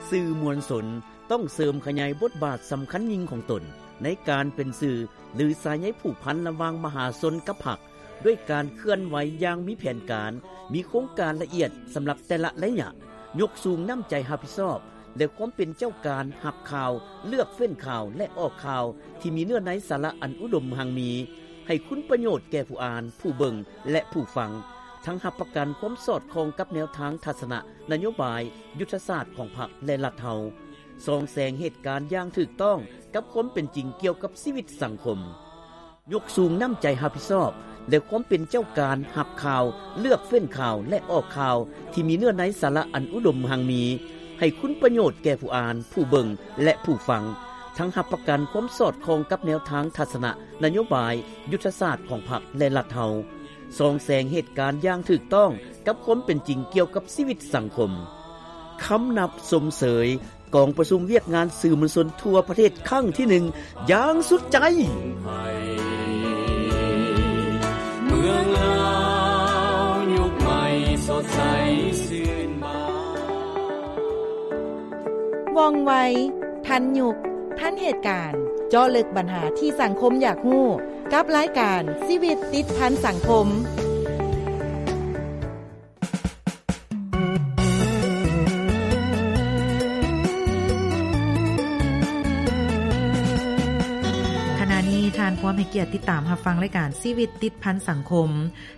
ສື່ມວນຊົນຕ້ອງເສີມຂະຫຍາຍບົດບາດສຳຄັນຍິ່ງຂອງຕົນ ໃນການເປັນສື່ ຫຼື ສາຍໃຍຜູກພັນລະຫວ່າງມະຫາຊົນກັບພັກ ດ້ວຍການເຄື່ອນໄຫວຢ່າງມີແຜນການ, ມີໂຄງການລະອຽດສຳລັບແຕ່ລະໄລຍະ, ຍົກສູງນ້ຳໃຈຮັບຜິດຊອບ ແລະ ຄວາມເປັນເຈົ້າການຮັບຂ່າວ, ເລືອກເຟ້ນຂ່າວ ແລະ ອອກຂ່າວທີ່ມີເນື້ອໃນສາລະອັນອຸດົມຮັ່ງມີ, ໃຫ້ຄຸນປະໂຫຍດແກ່ຜູ້ອ່ານ, ຜູ້ເບິ່ງ ແລະ ຜູ້ຟັງ, ທັງຮັບປະກັນຄວາມສອດຄ່ອງກັບແນວທາງທັດສະນະນະໂຍບາຍ, ຍຸດທະສາດຂອງພັກ ແລະ ລັດເຮົາ, ສ່ອງແສງເຫດການຢ່າງຖືກຕ້ອງກັບຄວາມເປັນຈິງກ່ຽວກັບຊີວິດສັງຄົມ. ຍົກສູງນ້ຳໃຈຮັບຜິດຊອບ ແລະ ຄວາມເປັນເຈົ້າການຮັບຂ່າວ, ເລືອກເຟ້ນຂ່າວ ແລະ ອອກຂ່າວທີ່ມີເນື້ອໃນສາລະອັນອຸດົມຮັ່ງມີ, ໃຫ້ຄຸນປະໂຫຍດແກ່ຜູ້ອ່ານ, ຜູ້ເບິ່ງ ແລະ ຜູ້ຟັງ, ທັງຮັບປະກັນຄວາມສອດຄ່ອງກັບແນວທາງທັດສະນະນະໂຍບາຍ, ຍຸດທະສາດຂອງພັກ ແລະ ລັດເຮົາ, ສ່ອງແສງເຫດການຢ່າງຖືກຕ້ອງກັບຄວາມເປັນຈິງກ່ຽວກັບຊີວິດສັງຄົມ. ຄຳນັບຊົມເຊີຍ ກອງປະຊຸມວຽກງານສື່ມວນຊົນທົ່ວປະເທດຄັ້ງທີໜຶ່ງຢ່າງສຸດໃຈ. ເມືອງລາວຍຸກໃໝ່ສົດໃສຊື່ນບານ ວ່ອງໄວ, ທັນຍຸກ, ທັນເຫດການ, ເຈາະເລິກບັນຫາທີ່ສັງຄົມຢາກຮູ້ ກັບລາຍການຊີວິດຕິດພັນສັງຄົມ. ຂະນະນີ້ທ່ານພວມໃຫ້ກຽດຕິດຕາມຮັບຟັງລາຍການຊີວິດຕິດພັນສັງຄົມ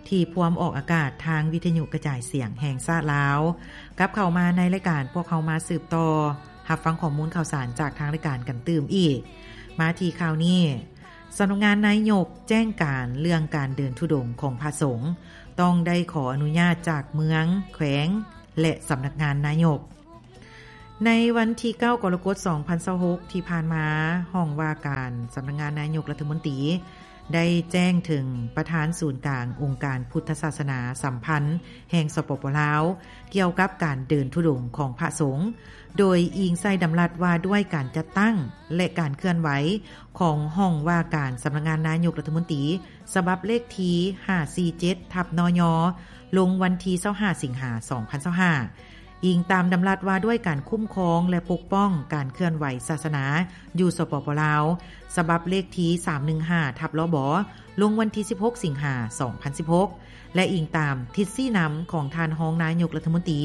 ທີ່ພວມອອກອາກາດທາງວິທະຍຸກະຈາຍສຽງແຫ່ງຊາດລາວ. ກັບເຂົ້າມາໃນລາຍການ, ພວກເຮົາມາສືບຕໍ່ຮັບຟັງຂໍ້ມູນຂ່າວສານຈາກທາງລາຍການກັນຕື່ມອີກ. ມາທີ່ຂ່າວນີ້, ສຳນັກງານນາຍົກແຈ້ງການເລື່ອງການເດີນທຸດົງຂອງພະສົງ ຕ້ອງໄດ້ຂໍອະນຸຍາດຈາກເມືອງ, ແຂວງ ແລະ ສຳນັກງານນາຍົກ. ໃນວັນທີເກົ້າ ກໍລະກົດ ສອງພັນຊາວຫົກ ທີ່ຜ່ານມາ, ຫ້ອງວ່າການສຳນັກງານນາຍົກລັດຖະມົນຕີ ໄດ້ແຈ້ງເຖິງປະທານສູນກາງອົງການພຸດທະສາສະໜາສຳພັນແຫ່ງ ສປປ ລາວ ກ່ຽວກັບການເດີນທຸດົງຂອງພະສົງ, ໂດຍອີງໃສ່ດຳລັດວ່າດ້ວຍການຈັດຕັ້ງ ແລະ ການເຄື່ອນໄຫວຂອງຫ້ອງວ່າການສຳນັກງານນາຍົກລັດຖະມົນຕີ ສະບັບເລກທີຫ້າສີ່ເຈັດ ທັບ ນຍ ລົງວັນທີຊາວຫ້າ ສິງຫາ ສອງພັນຊາວຫ້າ ອີງຕາມດຳລັດວ່າດ້ວຍການຄຸ້ມຄອງ ແລະ ປົກປ້ອງການເຄື່ອນໄຫວສາສະໜາຢູ່ ສປປ ລາວ ສະບັບເລກທີສາມໜຶ່ງຫ້າ ທັບ ລບ ລົງວັນທີສິບຫົກ ສິງຫາ ສອງພັນສິບຫົກ ແລະ ອີງຕາມທິດຊີ້ນຳຂອງທ່ານຮອງນາຍົກລັດຖະມົນຕີ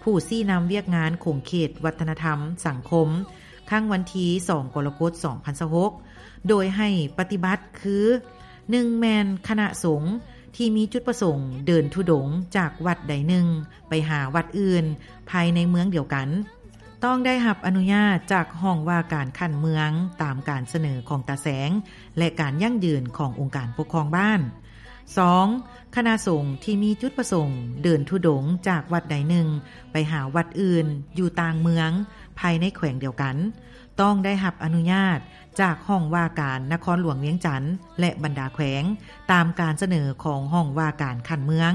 ຜູ້ຊີ້ນຳວຽກງານຂົງເຂດວັດທະນະທຳສັງຄົມ ຄັ້ງວັນທີສອງ ກໍລະກົດ ສອງພັນຊາວຫົກ ໂດຍໃຫ້ປະຕິບັດຄື ໜຶ່ງ ແມ່ນຄະນະສົງທີ່ມີຈຸດປະສົງເດີນທຸດົງຈາກວັດໃດໜຶ່ງໄປຫາວັດອື່ນພາຍໃນເມືອງດຽວກັນ ຕ້ອງໄດ້ຮັບອະນຸຍາດຈາກຫ້ອງວ່າການຂັ້ນເມືອງ ຕາມການສະເໜີຂອງຕາແສງ ແລະ ການຢັ້ງຢືນຂອງອົງການປົກຄອງບ້ານ. ສອງ ຄະນະສົງທີ່ມີຈຸດປະສົງເດີນທຸດົງຈາກວັດໃດໜຶ່ງໄປຫາວັດອື່ນຢູ່ຕ່າງເມືອງພາຍໃນແຂວງດຽວກັນ ຕ້ອງໄດ້ຮັບອະນຸຍາດຈາກຫ້ອງວ່າການນະຄອນຫຼວງວຽງຈັນ ແລະ ບັນດາແຂວງ ຕາມການສະເໜີຂອງຫ້ອງວ່າການຂັ້ນເມືອງ.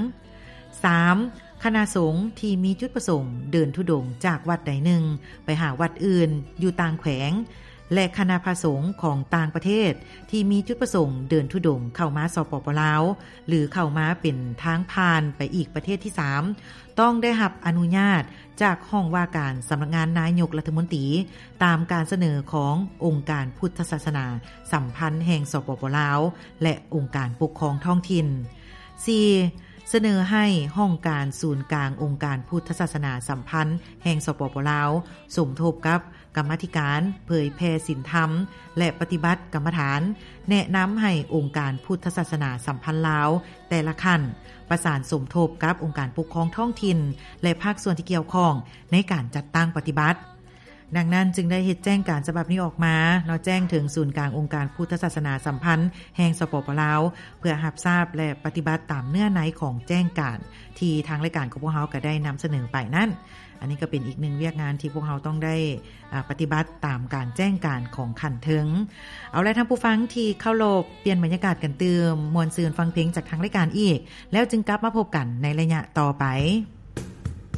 ສາມ ຄະນະສົງທີ່ມີຈຸດປະສົງເດີນທຸດົງຈາກວັດໃດໜຶ່ງໄປຫາວັດອື່ນຢູ່ຕ່າງແຂວງ ແລະ ຄະນະພະສົງຂອງຕ່າງປະເທດທີ່ມີຈຸດປະສົງເດີນທຸດົງເຂົ້າມາ ສປປ ລາວ ຫຼື ເຂົ້າມາເປັນທາງຜ່ານໄປອີກປະເທດທີສາມ ຕ້ອງໄດ້ຮັບອະນຸຍາດຈາກຫ້ອງວ່າການສຳນັກງານນາຍົກລັດຖະມົນຕີ ຕາມການສະເໜີຂອງອົງການພຸດທະສາສະໜາສຳພັນແຫ່ງ ສປປ ລາວ ແລະ ອົງການປົກຄອງທ້ອງຖິ່ນ. ສີ່ ສະເໜີໃຫ້ຫ້ອງການສູນກາງອົງການພຸດທະສາສະໜາສຳພັນແຫ່ງ ສປປ ລາວ ສົມທົບກັບ ກຳມາທິການເຜີຍແຜ່ສິນທຳ ແລະ ປະຕິບັດກຳມະຖານ ແນະນຳໃຫ້ອົງການພຸດທະສາສະໜາສຳພັນລາວແຕ່ລະຂັ້ນ ປະສານສົມທົບກັບອົງການປົກຄອງທ້ອງຖິ່ນ ແລະ ພາກສ່ວນທີ່ກ່ຽວຂ້ອງໃນການຈັດຕັ້ງປະຕິບັດ. ດັ່ງນັ້ນຈຶ່ງໄດ້ເຮັດແຈ້ງການສະບັບນີ້ອອກມາເນາະ, ແຈ້ງເຖິງສູນກາງອົງການພຸດທະສາສະໜາສຳພັນແຫ່ງ ສປປ ລາວ ເພື່ອຮັບຊາບ ແລະ ປະຕິບັດຕາມເນື້ອໃນຂອງແຈ້ງການທີ່ທາງລາຍການຂອງພວກເຮົາກໍໄດ້ນຳສະເໜີໄປນັ້ນ. ອັນນີ້ກໍເປັນອີກໜຶ່ງວຽກງານທີ່ພວກເຮົາຕ້ອງໄດ້ ອາ ປະຕິບັດຕາມການແຈ້ງການຂອງຂັ້ນເທິງ. ເອົາລະ ທ່ານຜູ້ຟັງທີ່ເຄົາລົບ, ປ່ຽນບັນຍາກາດກັນຕື່ມ, ມ່ວນຊື່ນຟັງເພງຈາກທາງລາຍການອີກ, ແລ້ວຈຶ່ງກັບມາພົບກັນໃນໄລຍະຕໍ່ໄປ.